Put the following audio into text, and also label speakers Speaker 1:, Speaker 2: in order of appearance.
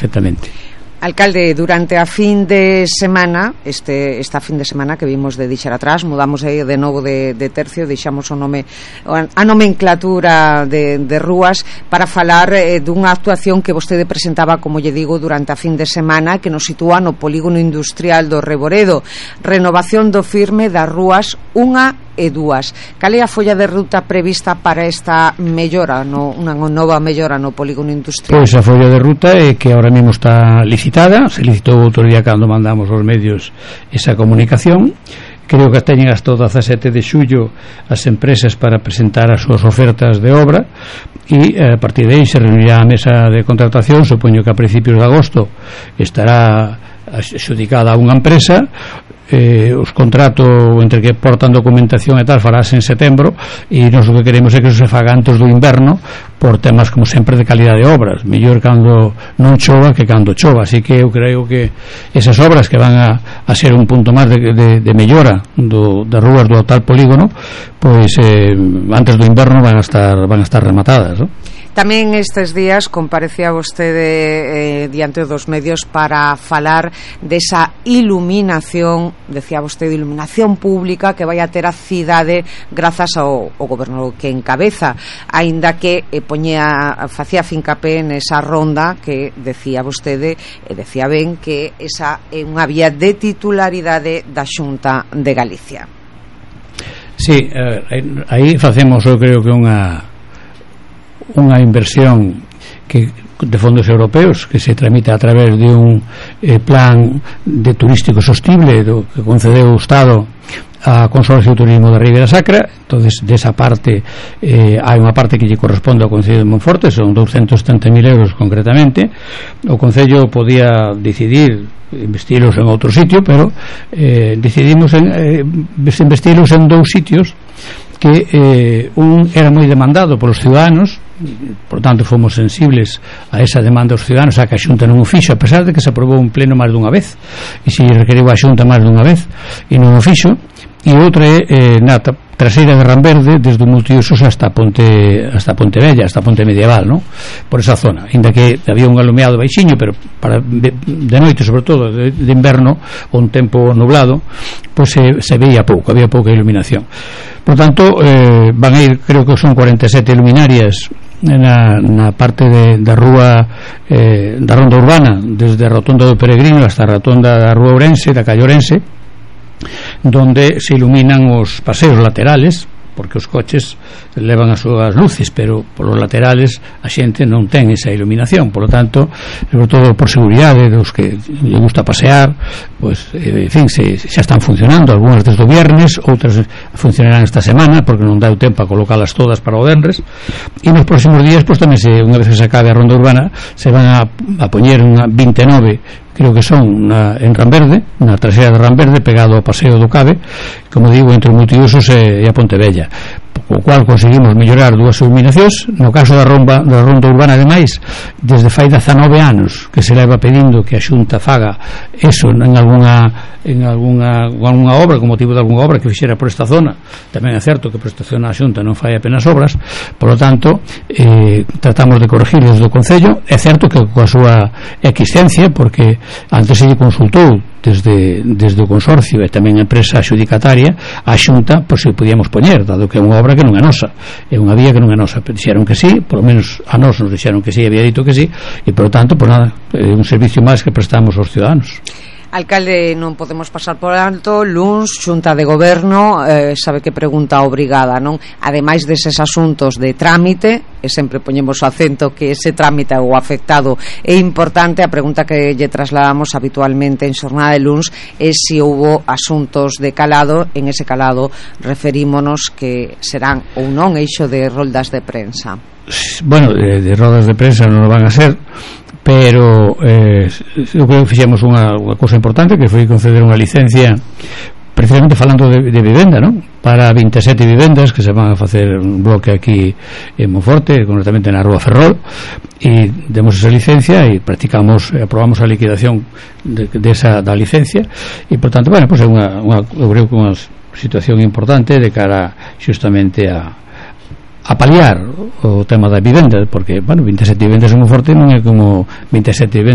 Speaker 1: perfectamente.
Speaker 2: Alcalde, durante a fin de semana, esta fin de semana que vimos de deixar atrás, mudamos aí de novo de tercio, deixamos a nomenclatura de rúas para falar dunha actuación que vostede presentaba, como lle digo, durante a fin de semana, que nos sitúa no polígono industrial do Reboredo. Renovación do firme das rúas 1 e 2. Cal é a folla de ruta prevista para esta mellora, unha nova mellora no polígono industrial?
Speaker 1: Pois a folla de ruta é que ahora mesmo está licitada, se licitou outro día cando mandamos aos medios esa comunicación. Creo que teñen hasta o 17 de xullo as empresas para presentar as súas ofertas de obra e a partir de aí se reunirá a mesa de contratación. Supoño que a principios de agosto estará adxudicada a unha empresa. Os contratos entre que portan documentación e tal farase en setembro, e nós o que queremos é que se faga antes do inverno, por temas como sempre de calidade de obras, mellor cando non chova que cando chova. Así que eu creo que esas obras que van a ser un punto máis de mellora das rúas do tal polígono, pois antes do inverno van a estar rematadas, non?
Speaker 2: Tamén estes días comparecía vostede diante dos medios para falar desa iluminación, decía vostede, iluminación pública que vai a ter a cidade grazas ao goberno que encabeza, aínda que facía fincapé nesa ronda que decía vostede, decía ben que esa é unha vía de titularidade da Xunta de Galicia.
Speaker 1: Sí, aí facemos, eu creo que unha inversión que de fondos europeos que se tramita a través de un plan de turístico sostible que concedeu o Estado a Consorcio de Turismo da Ribeira Sacra. Entonces, desa parte hai unha parte que lle corresponde ao Concello de Monforte, son 270.000 euros concretamente. O Concello podía decidir investilos en outro sitio, pero decidimos investilos en dous sitios que un era moi demandado polos ciudadanos. Por tanto, fomos sensibles a esa demanda dos ciudadanos, a que a Xunta non o fixo, a pesar de que se aprobou un pleno máis dunha vez, e se requeriu a Xunta máis dunha vez e non o fixo. E outra é na traseira de Ramberde, desde o Multiusos hasta Pontevella, hasta Ponte Medieval, ¿no? Por esa zona, ainda que había un alumeado baixiño, pero para de noite, sobre todo de inverno, ou un tempo nublado, pois se veía pouco, había pouca iluminación. Por tanto, van a ir, creo que son 47 luminarias na parte da rúa da ronda urbana, desde a rotonda do Peregrino hasta a rotonda da rúa Ourense, da calle Ourense, donde se iluminan os paseos laterales, porque os coches levan as súas luces, pero por os laterales a xente non ten esa iluminación. Por lo tanto, sobre todo por seguridade dos que lle gusta pasear, pues, en fin, xa están funcionando, algunhas desde o viernes, outras funcionarán esta semana, porque non dá o tempo a colocalas todas para o venres, e nos próximos días, pues, tamén unha vez que se acabe a ronda urbana, se van a poñer unha 29, creo que son en Ramberde, na traseira de Ramberde, pegado ao paseo do Cabe, como digo, entre o Multiusos e a Pontevella, o cual conseguimos mellorar dúas iluminacións. No caso da ronda urbana, ademais, desde fai 19 anos que se leva pedindo que a Xunta faga eso en algunha obra, con motivo de algunha obra que fixera por esta zona. Tamén é certo que por esta zona a Xunta non fai apenas obras, por lo tanto tratamos de corregir desde o Concello. É certo que coa súa existencia, porque antes se lle consultou desde o Consorcio e tamén a empresa adxudicataria a Xunta, pois se podíamos poñer, dado que é unha obra que non é nosa, é unha vía que non é nosa. Dixeron que sí, por lo menos a nós nos dixeron que sí, había dito que sí, e por lo tanto, por nada, é un servicio máis que prestamos aos ciudadanos.
Speaker 2: Alcalde, non podemos pasar por alto luns, Xunta de Goberno, sabe que pregunta obrigada, non? Ademais deses asuntos de trámite, e sempre poñemos o acento que ese trámite ou afectado é importante, a pregunta que lle trasladamos habitualmente en xornada de luns é se houbo asuntos de calado. En ese calado referímonos que serán ou non eixo de roldas de prensa.
Speaker 1: Bueno, de rodas de prensa non van a ser, pero eu creo que fixemos unha cousa importante, que foi conceder unha licencia, precisamente falando de vivenda, non? Para 27 vivendas que se van a facer un bloque aquí en Monforte, concretamente na Rúa Ferrol, e demos esa licencia e aprobamos a liquidación da licencia, e por tanto, bueno, pues é eu creo que unha situación importante de cara justamente a paliar o tema da vivenda, porque, bueno, 27 vivendas en Monforte non é como 27 vivendas